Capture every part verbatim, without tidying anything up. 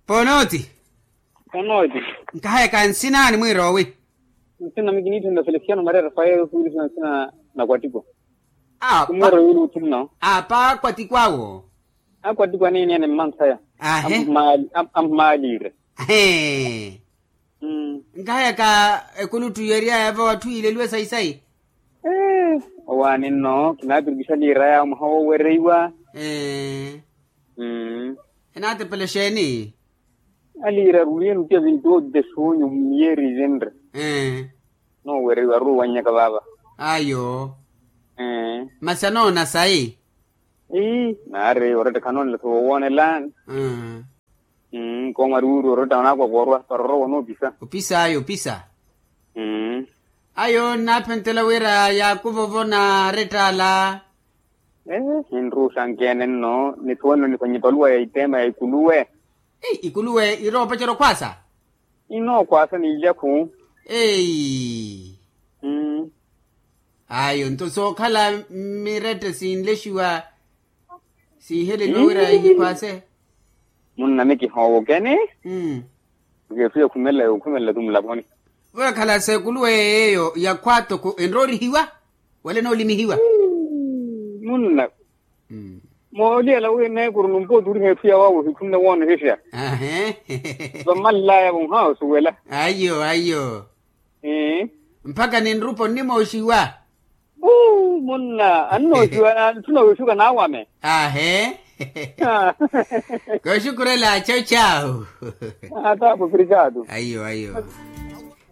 Ponooti. Ponooti. Nkahayaka nsina ani mwiiroowi? Nsina mikiniitthenda felesiano maria rafael osuwirisiwa nsina. Nakwattikwa. Kumweero yuulu utthunno. Apa akwattikwawo? Akwattikwa niini ene mmanthaya. Ahe. Ammaaliire. Hee. Nkahayaka ekuluttu yeeriyaya eva watthu yiileliwe sayi-sayi. Owaani nno kinaapirikisha liira yaya mwaha woowereiwa. Enaatepela exeeni? Aliira aruliye nutiya vintu otte suunyu miyeeri ivinre. Noowereiwa aruuwannyaka vaava. Ayo. Masi anoona sayi? Ii naari oretta khanoonela sa wowoonela. Koomari wuuri oretta anaakwa koorwa para orwa wanoopisa. Opisa ayo opisa. Ayo nnaaphentela wira yaakuvovo na arettaala. Hinruuxankeene nno nisuwanelo nikhwanya epaluwa ya iteema ya ikuluwe. Ikuluwe iroopacerya okhwaasa. Inookhwaasa n'ilyaku. Eyi. Ayo nto sookhala mirette sinlexiwa siiheleliwa wira ihikhwaase. Munna mikihoowo kene. Mukethu yakhumelela yookhumelela tu mulaponi. Weekhala seekuluwe yeeyo yakhwa toko enroorihiwa wala enoolimihiwa. Munna mooliyela wi neekuru numpooti uriha etthu yawaawo hikhunne woonehesha. Vammallayavo nhawo osuwela. Aiyo aiyo. Mpakha ninrupa onnimooxiwa. Munna annoosiwa ntthuna wooxuka naawame. Ahe. Kooxukurela chawu chawu. Ataapo obrigado. Aiyo aiyo.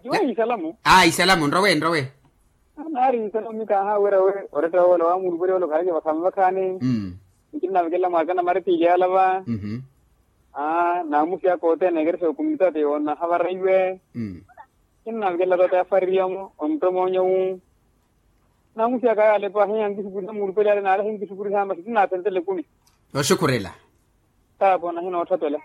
Juwa isalamu. Aa isalamu nrowe nrowe. Naari isalamu mikaaha wira we oretta woola waamulupweliwa ole okhaleke vakhame vakhaani. Nkinnavekelela mwaakana maretiili yaalava. Naamusi aka othene ekerexa ya okomunitati yoonahavaraiwe. Kinnaavekelela toote yafaririya-mo ontomoonyo-wu. Naamusi aka yaalepa hiya nkisukurisa muulupeli ale naalehe nkisukurisa masi kinnaaphentela ekumi. Oxukurela. Taapo nahinootthapela.